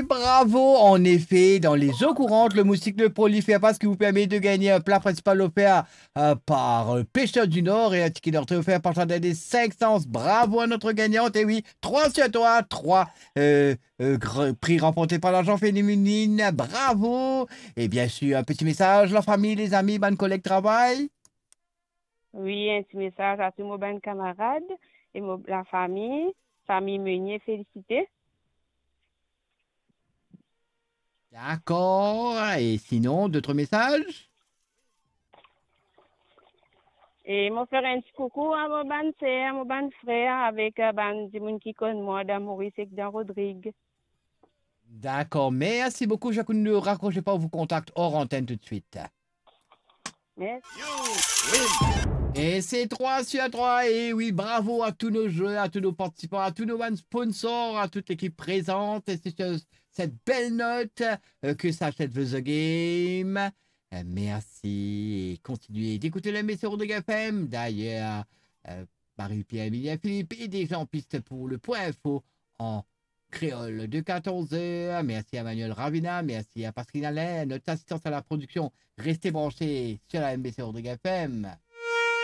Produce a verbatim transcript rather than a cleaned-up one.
Bravo, en effet, dans les eaux courantes, le moustique de Prolife Airpass qui vous permet de gagner un plat principal offert euh, par euh, Pêcheurs du Nord et un ticket d'entrée offert par Jardin des cinq Sens. Bravo à notre gagnante. Et oui, trois sur trois, trois euh, euh, gr- prix remportés par l'agent féminine. Bravo. Et bien sûr, un petit message, la famille, les amis, bonne collègue travail. Wi, enn ti mesaz a tou mo bann kamarad e mo lafami, fami Meunier felisite. D'accord. Et sinon, d'autres messages? E mo fer enn ti koukou a mo bann ser, mo bann frer, avek eh, bann dimoun ki konn mwa dan Moris ek dan Rodrig. D'accord. Merci beaucoup. Je ne raccrochez pas, on vous contacte hors antenne tout de suite. Merci. Et c'est trois sur trois. Et oui, bravo à tous nos joueurs, à tous nos participants, à tous nos bann sponsors, à toute l'équipe présente. Et c'est sur cette belle note euh, que s'achève The Game. Euh, merci et continuez d'écouter le M B C Rodrigue F M. D'ailleurs, euh, Marie-Pierre Emilien Philippe est déjà en piste pour le point info en créole de quatorze heures. Merci à Manuel Ravina, merci à Pasquine Alain, notre assistance à la production. Restez branchés sur la M B C Rodrigue F M.